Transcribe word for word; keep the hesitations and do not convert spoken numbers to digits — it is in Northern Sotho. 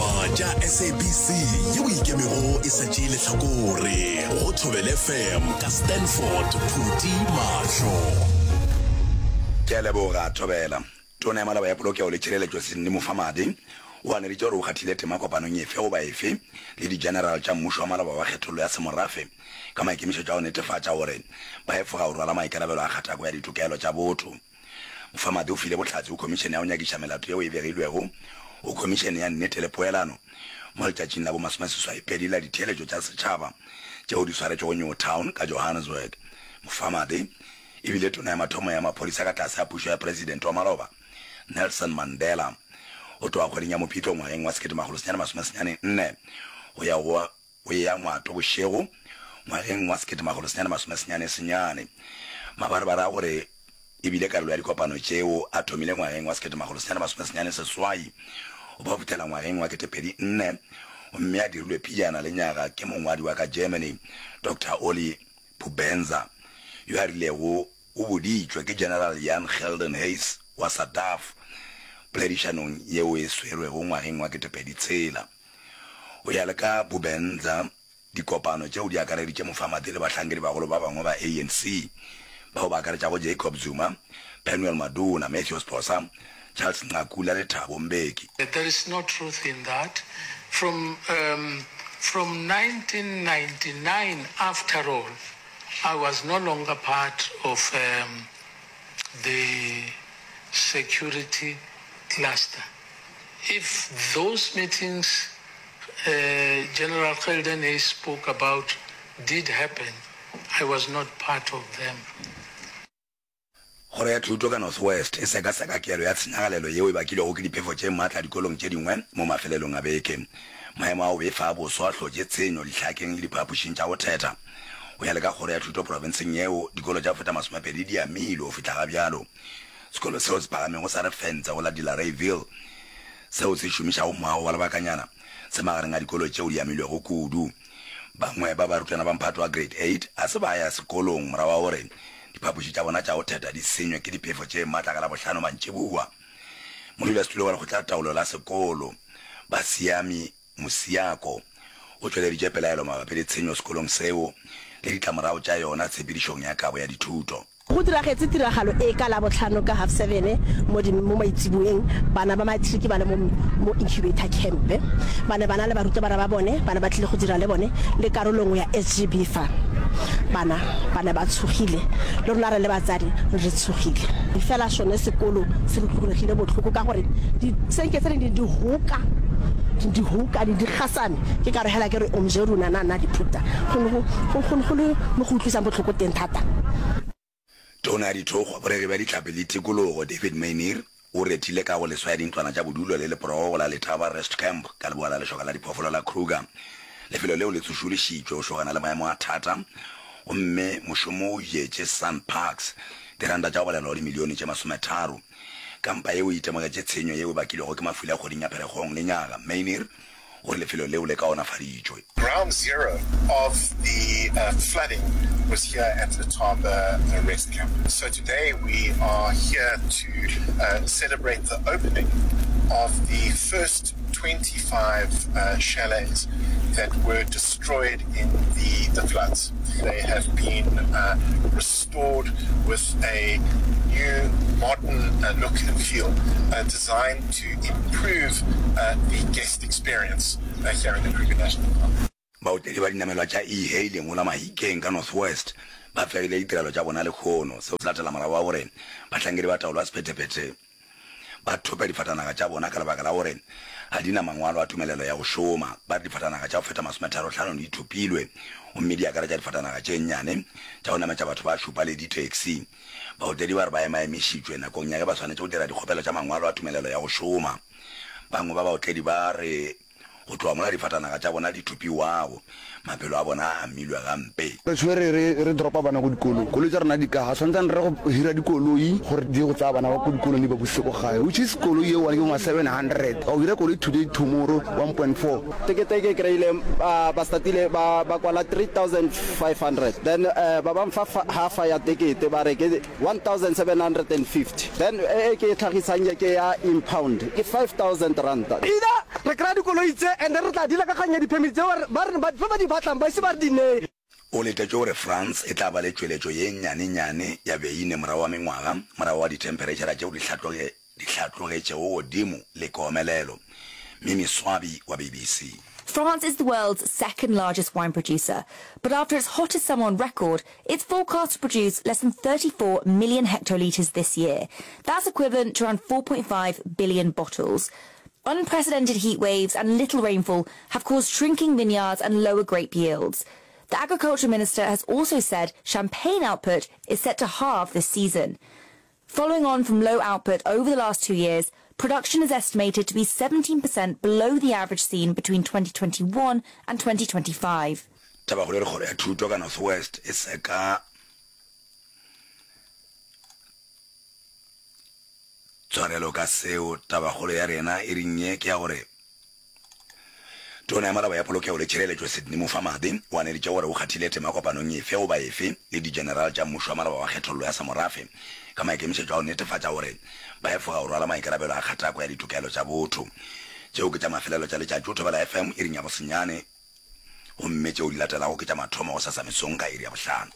Ditaba tša S A B C yeo ikemego e sa tšee lehlakore go Thobela F M ka Stanford Phuti Mahlo. Ke a leboga, Thobela. Tona ya Malaba ya Polokego le Tšhireletšo Sydney Mufamadi o ganeditše gore o kgathile tema kopanong efe goba efe le di-general tša mmušo wa maloba wa kgethollo ya semorafe ka maikemišetšo a go netefatša gore ba efoga go rwala maikarabelo a kgatako ya ditokelo tša botho. Mufamadi o file bohlatse go Khomišene ya go Nyakiša Melato yeo e begilwego go Khomišene ya Nnete le Poelano mo letšatšing la bo masomeseswaipedi la ditheeletšo tša setšhaba tšeo di swaretšwego Newtown ka Johannesburg. Mufamadi e bile tona ya mathomo ya maphodisa ka tlase ga pušo ya Presidente wa maloba Nelson Mandela go tloga kgweding ya Mopitlo ngwageng wa sekete makgolo senyane masome senyane nne go ya go go ya Ngwato bošego ngwageng wa sekete makgolo senyane masome senyane senyane. Mabarebare a gore e bile karolo ya dikopano tšeo a thomile ngwageng wa sekete makgolo senyane masome senyane seswai go ba fihlela ngwageng wa ketepedi nne gomme a dirilwe pejana le nyaga ke mongwadi wa ka Germany Doctor Oli Bubenzer yo a rilego o boditšwe ke General Jan Geldenhuys wa SADAF poledišanong yeo e swerwego ngwageng wa ketepedi tshela. Go ya le ka Bubenzer, dikopano tšeo di akareditše Mufamadi le bahlankedi bagolo ba bangwe ba A N C bao ba akaretšago Jacob Zuma, Penuel Maduna, Mathews Phosa, Charles Nqakula le Thabo Mbeki. There is no truth in that. From, um, from nineteen ninety-nine, after all, I was no longer part of um, the security cluster. If those meetings uh, General Geldenhuys spoke about did happen, I was not part of them. Kgoro ya Thuto ka North West e sekaseka kelo ya tshenyagalelo yeo e bakilwego ke diphefo tše matla dikolong tše dingwe mo mafelelong a beke. Maemo a go befa a boso a hlotše tshenyo dihlakeng le diphapošing tša go thetha. Go ya le ka kgoro ya thuto profenseng yeo, dikolo tša go feta masomepedi di amilwe go fihla ga bjalo. Sekolo seo se phagamego sa Refentse go la Delareyville seo se šomišago moago wa lebakanyana se magareng a dikolo tšeo di amilwego kudu. Bangwe ba barutwana ba mphato wa grade eight a se ba ya sekolong morago ga gore diphapoši tša bona tša go thetha di senywe ke diphefo tše matla ka Labohlano mantšiboa. Modulasetulo wa lekgotlataolo la sekolo, Basiami Mosiako, o tšweleditše pelaelo mabapi le tshenyo sekolong seo le ditlamorago tša yona tshepedišong ya kabo ya dithuto. Go diragetše tiragalo e ka Labohlano ka half seven mo di mo maitsiboeng, bana ba matric ba le mo mo incubator camp. Ba ne ba na le barutabana ba bone, ba ne ba tlile go dira le bone le karolo nngwe ya S G B fa. Bana ba ne ba tshogile, le rona re le batsadi re tshogile. Fela sone sekolo se re utlwegile bohloko ka gore disenke tse dingwe di hoka di hoka di di gasame ke ka re hela ke re omje rona na na di phuta go ne go go go le mo go utlwisang bohloko teng thata. Tona ya Dithokgwa, Boregi bja Dihlapi le Tikologo, David Maynier, o rethile kago leswa ya dintlwana tša bodulo le leporogo go la Letaba Rest Camp ka leboa la lešoka la diphoofolo la Kruger. Lefelo leo le tsošološitšwe go šogana le maemo a thata gomme mošomo o jetše SANParks diranta tša go balelwa go dimilione tše masometharo. Kampa yeo e itemogetše tshenyo yeo e bakilwego ke mafula kgweding ya Pherekgong lenyaga. Maynier o re lefelo leo le kaonafaditšwe. Ground zero of the uh, flooding was here at the Letaba uh, Rest Camp. So today we are here to uh, celebrate the opening of the first twenty-five uh, chalets that were destroyed in the, the floods. They have been uh, restored with a new modern uh, look and feel uh, designed to improve uh, the guest experience uh, here in the Kruger National Park. Baotledi ba dinamelwa tša e-hailing go la Mahikeng ka North West ba fegile ditirelo tša bona lehono. Seo se latela morago ga gore bahlankedi ba taolo ya sephethephethe ba thope difatanaga tša bona ka lebaka la gore ga di na mangwalo a tumelelo ya go šoma. Ba re difatanaga tša go feta masometharo-hlano di thopilwe gomme di akaretša difatanaga tše nnyane tša go nametša batho ba šupa le di-taxi. Baotledi ba re ba emaemišitšwe nakong ya ge ba swanetše go dira dikgopelo tša mangwalo a tumelelo ya go šoma. Bangwe ba baotledi ba re go tloga mola difatanaga tša bona di thopiwago, maphelo a bona a amilwe gampe. Re tshwere re re dropa bana ko dikolong, koloi tša rena di ka ga swantsane re go hira dikoloi gore di ye go tsaya bana ba ko dikolong di ba busetse ko gae, which is koloi ye one ke bo ma seven hundred wa go hira koloi today, tomorrow one point four. Tekete e ke kry-ile ba ba startile ba ba kwala three thousand five hundred, then uh, ba ba mfa half ya tekete, ba re ke one thousand seven hundred and fifty, then e e ke e tlhagisang ye ke ya impound ke five thousand ranta. Either re kry-a dikoloi tse and then re tla deala ka kgang ya di-permit tse ba re ba ba di batlang ba ise ba re di neye. O letetše gore France e tla ba le tšweletšo ye nnyanenyane ya beine morago ga mengwaga morago ga dithemphereitšhara tšeo di di hlatlogetšego godimo le komelelo. Mimi Swabi wa B B C. France is the world's second largest wine producer, but after its hottest summer on record, it's forecast to produce less than thirty-four million hectolitres this year. That's equivalent to around four point five billion bottles. Unprecedented heat waves and little rainfall have caused shrinking vineyards and lower grape yields. The agriculture minister has also said champagne output is set to halve this season. Following on from low output over the last two years, production is estimated to be seventeen percent below the average seen between twenty twenty-one and twenty twenty-five. Tabakgolo e re kgoro ya thuto ka North West e seka tshwarelo ka seo. Tabakgolo ya rena e reng ye ke ya gore Tona ya Malaba ya Polokego le Tšhireletšo Sydney Mufamadi o aneditše gore o kgathile tema kopanong efe goba efe le digeneral tša mmušo wa malaba wa kgethollo ya semorafe ka maikemišetšo a go netefatša gore ba efoga go rwala maikarabelo a kgatako ya ditokelo tša botho. Tšeo ke tša mafelelo tša letšatši go Thobela F M iring ya bosenyane gomme tšeo di latelago ke tša mathomo gosasa mesong ka iri ya bohlano.